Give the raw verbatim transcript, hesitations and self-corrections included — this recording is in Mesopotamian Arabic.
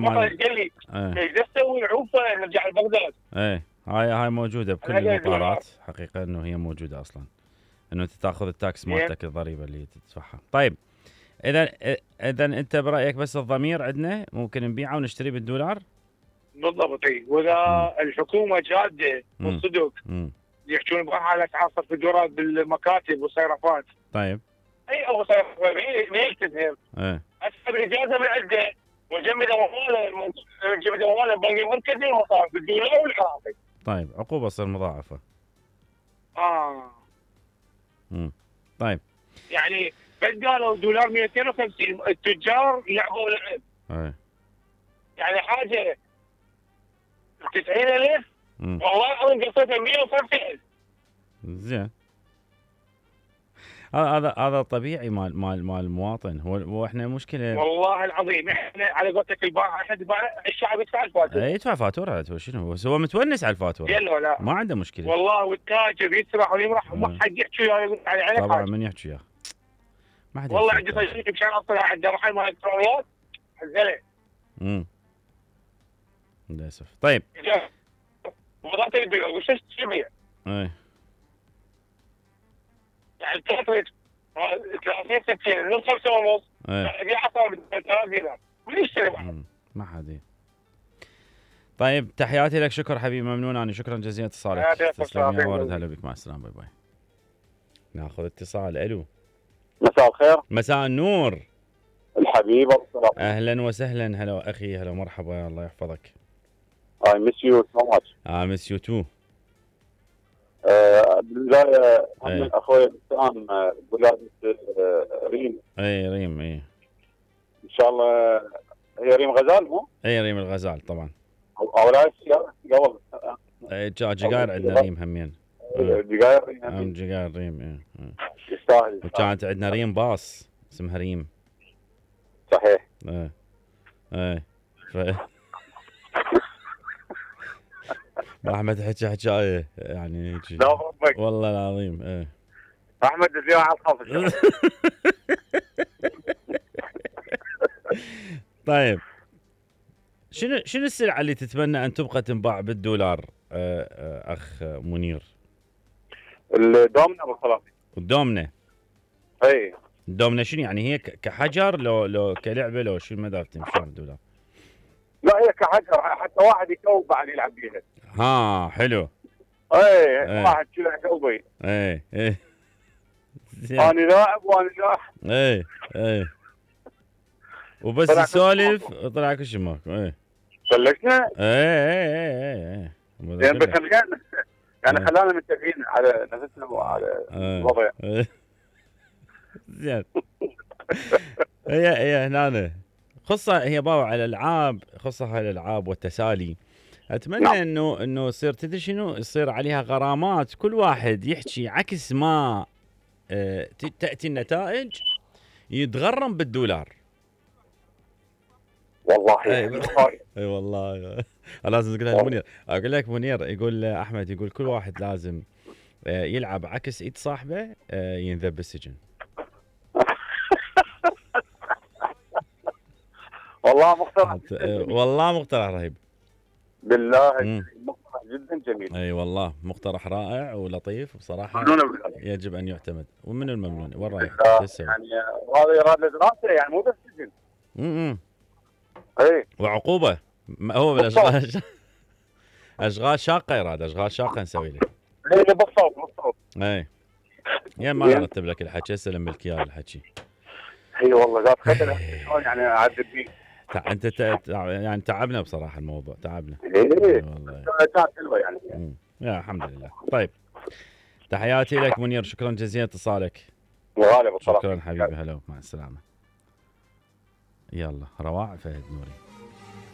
فقط قال لي ايش تسوي عوفه نرجع لبغداد. ايه هاي هاي موجوده بكل المطارات حقيقه، انه هي موجوده اصلا، انه انت تاخذ التاكس مالتك الضريبه اللي تدفعها. طيب اذا اذا انت برايك بس الضمير عندنا ممكن نبيعه ونشتري بالدولار؟ بالضبط. اي واذا مم. الحكومه جاده والصدق يحجون بها على اسعار صرف الدولار بالمكاتب والصيرفات. طيب اي او صيرفات ما يكتبهم. ايه اسحب الاجازه من عنده وجمد امواله جمد امواله البنك المركزي ومصارف بالدولار والعراقي. طيب عقوبه تصير مضاعفه. اه امم طيب يعني بس قالوا دولار مئتين وخمسين التجار يلعبوا لعب. ايه يعني حاجه تسعين ألف والله العظيم قصيتها مئة وخمسين ألف. زين هذا هذا طبيعي مال مال مال المواطن. هو هو احنا مشكله والله العظيم احنا على قولتك البائع احد الشعب يدفع الفاتوره. يدفع فاتوره. شنو هو متونس على الفاتوره؟ يلا لا ما عنده مشكله والله. والتاجر يسرح ويمرح وما حد يحكي وياه يقول على عينك. طبعا من يحكي وياه ما حد. والله عندي صديق مشان اصلا عنده محل مال الكترونيات حزله. امم للاسف. طيب وضعت البيع وش تبيع؟ ايه يعني الكاتريج ثلاثين ستين نص خمسة ونص. ايه دي عصا ب ثلاثة دينار وليش ما حد. طيب تحياتي لك، شكر حبيبي، ممنون انا، شكرا جزيلا اتصالك. تسلم يا ورد، هلا بك، مع السلامه، باي باي. ناخذ اتصال. الو مساء الخير. مساء النور الحبيب الصراحة. اهلا وسهلا. هلا اخي، هلا مرحبا، الله يحفظك. I miss you so much. I miss you too. آه بالبداية من اخوي الانسان ولادة ريم. اي ريم. اي ان شاء الله هي ريم غزال مو؟ اي ريم الغزال طبعا. او لا قبل. اي جقاير عندنا ريم همين. جقاير ريم. ام جقاير ريم. اي يستاهل. وكانت عندنا ريم باص اسمها ريم. صحيح. ايه ايه ف... ما احمد حكى حكايه يعني هيك. لا ربك والله العظيم. ايه احمد اليوم على الخاص. طيب شنو شنو السلعه اللي تتمنى ان تبقى تنباع بالدولار اخ منير؟ الدومنه بالخلاصي. الدومنه. اي الدومنه شنو يعني؟ هي كحجر لو لو كلعبه لو شو المدى تمشون بالدولار؟ لا هي كحجر حتى واحد يكوب بعد يلعب بيها. ها حلو. اي واحد كذا يكوبي. اي اي انا لاعب وانا لاعب. اي اي وبس يسولف طلع كل شيء ماكو. اي سلكنا. اي اي اي اي زين بس يعني خلانا متفقين على نفسنا وعلى الوضع. زين هي هي هنا خصة هي بابا على الالعاب، خصة على الالعاب والتسالي. اتمنى نعم. انه انه يصير تدري شنو، يصير عليها غرامات، كل واحد يحكي عكس ما اه تاتي النتائج يتغرم بالدولار. والله اي اي والله لازم تقولها لمنير. اقول لك منير يقول احمد يقول كل واحد لازم يلعب عكس ايد صاحبه ينذب بالسجن. والله مقترح والله مقترح رهيب بالله. مقترح جدا جميل. اي والله مقترح رائع ولطيف بصراحه، يجب ان يعتمد. ومن الممنون؟ وين رايك؟ يعني هذا يراد دراسه يعني مو بس سجن. امم اي وعقوبه. هو بالاشغال اشغال شاقه يراد، اشغال شاقه نسوي له. اي بالصوت بالصوت. اي يا ما ارتب لك الحكي، اسلم لك اياه الحكي. اي والله ذات خدمه شلون يعني اعدل فيه. انت تع... يعني تعبنا بصراحه الموضوع، تعبنا. اي والله كانت حلوه يعني. امم يا الحمد لله. طيب تحياتي لك منير، شكرا جزيلا اتصالك. وغالب الصراحه. شكرا حبيبي، هلا مع السلامه. يلا رواع فهد نوري.